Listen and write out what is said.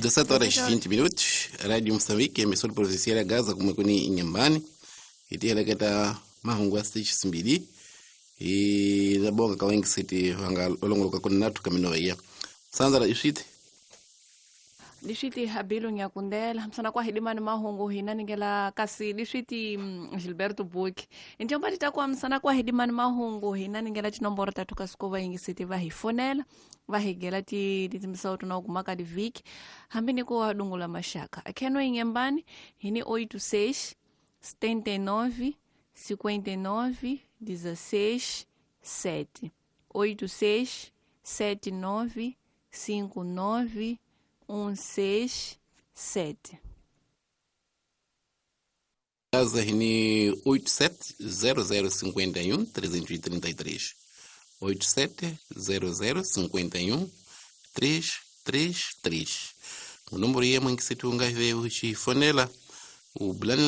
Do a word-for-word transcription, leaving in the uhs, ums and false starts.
dezessete horas e vinte minutos, Rádio Moçambique, emissora provincial ya Gaza kumwekuni inyambani itiheleketa mahungu ya stage simbili e labonga kawengi siti vanga olongoloka kuni natu kamino iya sanzara iswiti Liswiti Habilo Nyakundela msana kwa hidimani mahungu hina ningela kasi liswiti mm, Gilberto Buki injomba titakuwa msana kwa hidimani mahungu hina ningela tinomboro tatu kasuko vaingi siti vahifonela vahigela ti titimisawo tuna kumaka diviki hambi niko wadungula mashaka akheno ingembani hini oito seis setenta e nove cinquenta e nove dezesseis sete oito seis sete nove cinco nove um seis sete. Gaza hini oito sete zero zero cinquenta e um trezentos e trinta e três oito sete zero zero cinquenta e um três três três. O número ia mãe que se tu unga ve uchifonela o blana